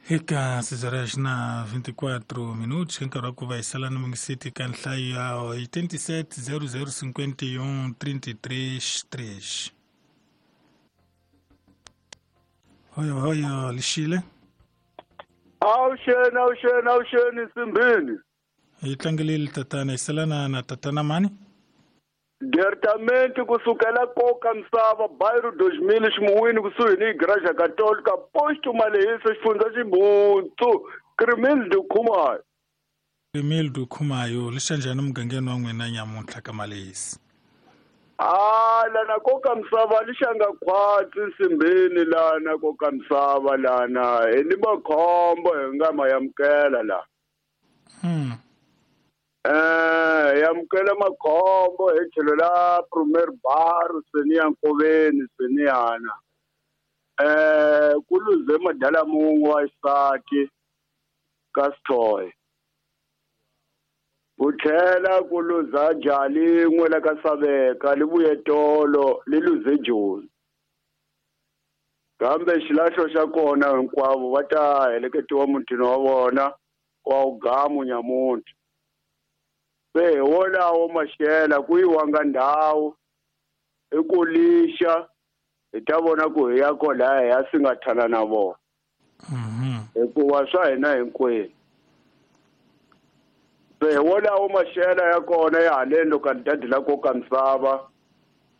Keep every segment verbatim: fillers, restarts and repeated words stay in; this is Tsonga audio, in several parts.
Eka seis horas na vinte e quatro minutos, nkarhi wa ku va hi sala ni mungiseti ka nhlayo ya oitenta e sete zero zero cinquenta e um trinta e três três. Hoyo hoyo lixile. Awuxeni awuxeni awuxeni Nsimbini. Hi tlangeleli tatana hi sala na na tatana mani? Diretamente kusukela koka misava bairro dois mil ximuwini kusuhi ni Igreja Católica posto Malehisa xifundza Xibutsu Crimildo Khumayo. Crimildo Khumayo lixa njhani mugangeni wa n'wina nyamuntlha ka Malehisa? Ah lana koka misava lixanga khwatsi Nsimbini lana koka misava lana hi ni makhombo hi nga ma yamukela la. Hmm. Eh yamukela makhombo hi tlhelo la Premier Bar Seniya Nkoveni Seniyana. Eh ku luze madala mun'we wa xisati ka Sithoye. Ku tlhela ku luza jali yin'we la ka Saveka li vuye tolo li luze Joni. Kambe xilahlo xa kona hinkwavo va ta heleketiwa mutini wa vona wa Ugamu nyamuntlha. Se wolawo maxela ku yiwanga ndhawu i ku lixa hi ta vona ku hi ya kolaya hi ya singathana na vona. Hikuva swa hina hinkwenu. Se wolawo maxela ya kona ya haleni loko dadi la koka misava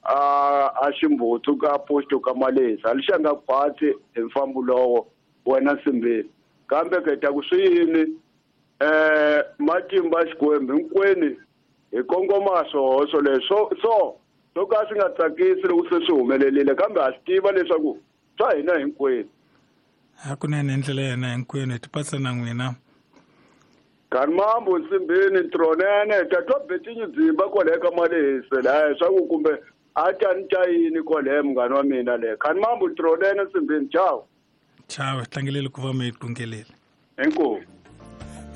a a Ximbutsu ka posto ka Malehisa lixanga khwatsi hi mfambo lowo wena Nsimbini. Kambe ke ta ku swi yini eh matimba Xikwembu hinkwenu hi kongoma swoho leswo so so ka swi nga tsakisi loko se swi humelerile kambe ha swi tiva leswaku swa hina hinkwenu. Hakunene hi ndlela ya hina hinkwenu hi tipatsa na n'wina. Kanimambo Nsimbini ntronene tatwa Betinyi Dzimba kwale ka Malehisa laha swa ku kumbe a ta ni ta yini kwale munghana wa mina le. Kanimambo ntronene Nsimbini ciao. Ciao, tlangelele ku va mi yi tungelele. Inkomu.